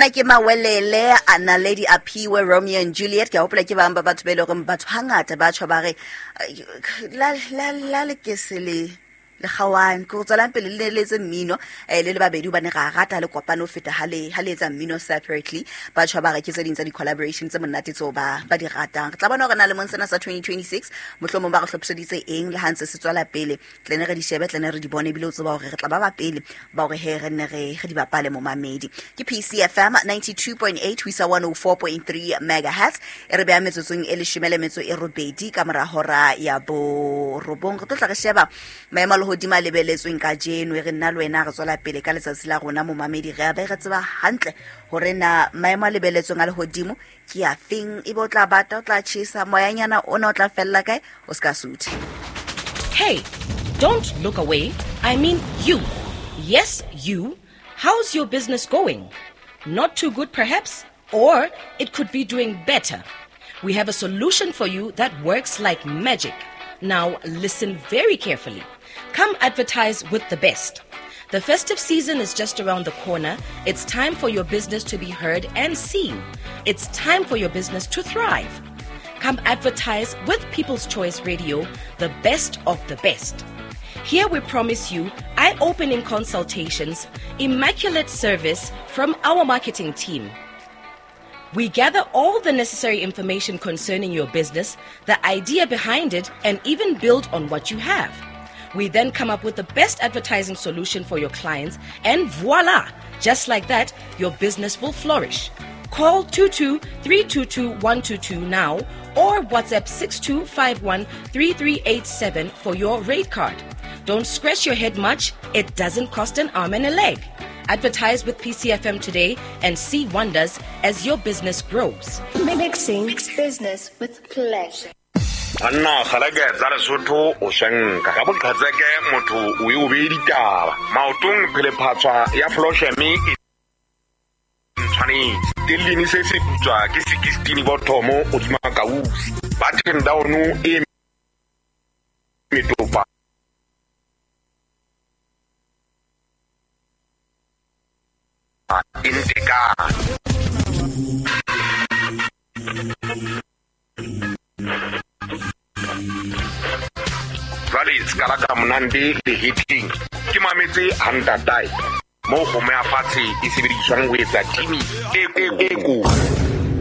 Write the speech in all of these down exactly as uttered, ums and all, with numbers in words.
Mona ke Mawelele a Naledi Aphiwe Romeo and Juliet. Ke a hopola ke bang ba batho ba e leng hore batho hangata ba tjho ba re la la la le ke se le le kgaohane, ke go tswelang pele le letse mmino eh le le babedi hobane ra rata le kopano ho feta ha le ha le etsa mmino separately. Ba tjho ba re ke tse ding tsa di-collaboration tse monate tseo ba ba di ratang. Re tla bona hore na lemong sena sa twenty twenty-six mohlomong ba re hlophiseditse eng le ha ntse se tswela pele. Tle ne re di shebe, tle ne re di bone, ebile o tseba hore re tla ba ba pele ba hore he re nne re re di bapale momamedi. Ke P C F M ninety-two point eight ho isa one oh four point three megahertz. E re beha metsotsong e leshome le metso e robedi ka mora hora ya borobong. Re tlo tla re sheba maemo a lehodimo a lebeletsweng kajeno. E re nna le wena re tswela pele ka letsatsi la rona momamedi, re a be re tseba hantle hore na maemo a lebeletsweng a lehodimo ke a feng, ebe o tla bata, o tla tjhesa, moyanyana ona o tla fella kae, o ska suthe. Hey, don't look away. I mean you. Yes, you. How's your business going? Not too good perhaps, or it could be doing better. We have a solution for you that works like magic. Now listen very carefully. Come advertise with the best. The festive season is just around the corner. It's time for your business to be heard and seen. It's time for your business to thrive. Come advertise with People's Choice Radio, the best of the best. Here we promise you eye-opening consultations, immaculate service from our marketing team. We gather all the necessary information concerning your business, the idea behind it, and even build on what you have. We then come up with the best advertising solution for your clients, and voila! Just like that, your business will flourish. Call two two three two two one two two now or WhatsApp six two five one three three eight seven for your rate card. Don't scratch your head much. It doesn't cost an arm and a leg. Advertise with P C F M today and see wonders as your business grows. Mixing business with pleasure. Anna kgaleke tsa Lesotho o shenka ka boqhetseke motho o e o be ditaba maotong phelephatswa ya Flosheme e tshwanetse tellini se se putswa ke sixteen bothomo o di makausi ba ten down e metopa inteka. Jwale ska la ka monande le hitting ke mametse hantatai mo go me afatshe e sebediswang ho etsa timi e e ko.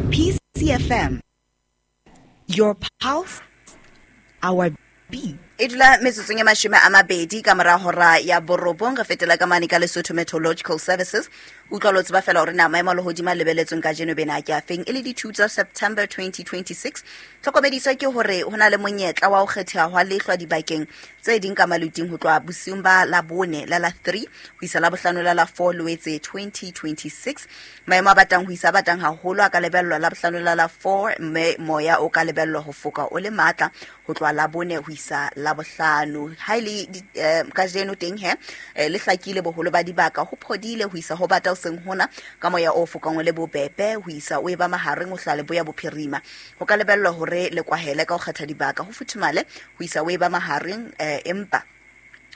P C F M, your pulse, our beat. E dula metsotsong e mashome a mabedi ka mora hora ya borobong. Re fetela ka mane ka Lesotho Meteorological Services. Utlwa lo tseba fela hore na maemo a lehodimo a lebeletsweng kajeno bena ke a feng, e le di two tsa September twenty twenty-six. Tlhokomediso ke hore ho na le monyetla wa ho kgetheha hwa lehlwa dibakeng tse ding ka maluting ho tloha bosiung ba la bone la la three ho isa la bohlano la la four Loetse twenty twenty-six. Maemo a batang ho isa batang haholo a ka lebellwa la bohlano la la four, mme moya o ka lebellwa ho foka o le matla ho tloha la bone ho isa la bohlano. Ha ile kajeno teng he le hlakile boholo ba dibaka, ho phodile ho isa ho bata ho seng hona ka moya o fokang o le bobebe ho isa o eba mahareng ho hlale boya bophirima. Ho ka lebellwa hore le kwahele ka ho kgetha dibaka, ho futhumale ho isa o eba mahareng, empa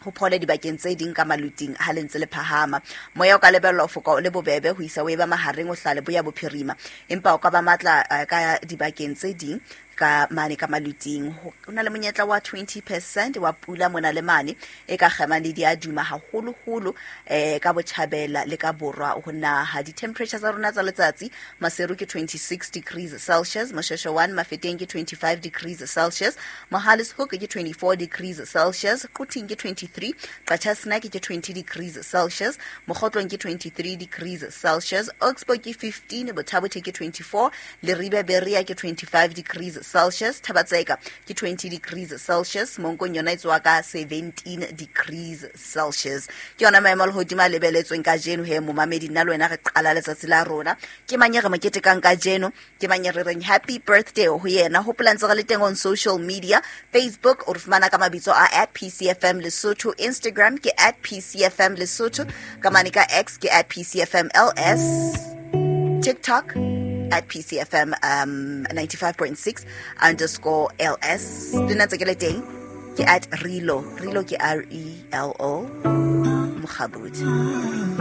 ho phole dibakeng tse ding ka maluting ha le ntse le phahama. Moya o ka lebellwa ho foka o le bobebe ho isa o eba mahareng ho hlale boya bophirima, empa o ka ba matla ka dibakeng tse ding ka mane ka maluting. Ho na le monyetla wa twenty percent wa pula mona le mane e ka kgema le diaduma haholoholo eh ka botjhabela le ka borwa ho naha. Di-temperature tsa rona tsa letsatsi, Maseru ke twenty-six degrees Celsius, Mosheshe one Mafeteng ke twenty-five degrees Celsius, Mohale's Hoek ke twenty-four degrees Celsius, Quthing ke twenty-three, Qacha's Nek ke twenty degrees Celsius, Mokhotlong ke twenty-three degrees Celsius, Oxbow ke fifteen, Botha-Bothe ke twenty-four, Leribe Berea ke twenty-five degrees Celsius, Thabatseka ke twenty degrees Celsius, Monkong yona e tswa ka seventeen degrees Celsius. Ke yona maemo a lehodimo a lebeletsweng kajeno he momamedi, nna le wena re qala letsatsi la rona. Ke mang e re mo ketekang kajeno? Ke mang e re reng happy birthday ho yena? Hopola ntse re le teng on social media, Facebook o re fumana ka mabitso a at P C F M Lesotho, Instagram ke at P C F M Lesotho, ka mane ka X ke at P C F M L S, TikTok at P C F M um, ninety-five point six underscore L S. Le nna ntse ke le teng ke at Relo, Relo ke R E L O Mokgabudi.